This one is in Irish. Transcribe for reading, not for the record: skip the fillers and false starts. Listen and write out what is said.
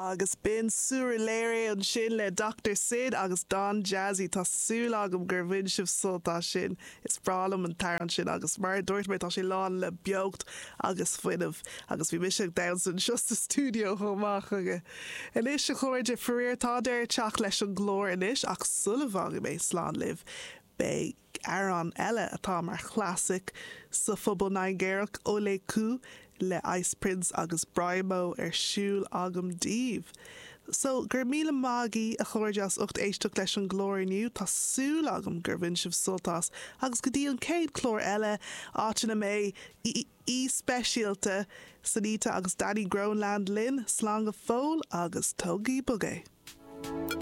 Agus b'in Surulere ansin le Doctor Sid agus Don Jazzy. Tá súil agam gur bhain sibh sult as sin. Is breá liom an t-amhrán sin agus mar a dúirt mé tá sé lán le beocht agus fuinneamh agus bhí mise ag damhsa anseo sa stiúideo chomh maith chuige. Anois a chairde, faraor tá deireadh ag teacht leis an gclár anois ach sula bhfágfaidh mé slán libh beidh amhrán eile atá mar chlasaic sa phobal Nigéarach, Ole Ku le Ice Prince agus Brymo ar siúl agam daoibh. So, go raibh míle maith agaibh a chairde as ucht éisteacht leis an gclár inniu, tá súil agam gur bhain sibh sult as agus go dtí an chéad chlár eile, áit ina mbeidh aoi speisialta, Sonita agus Danny Groenland linn, slán go fóill agus tógaigí bog é!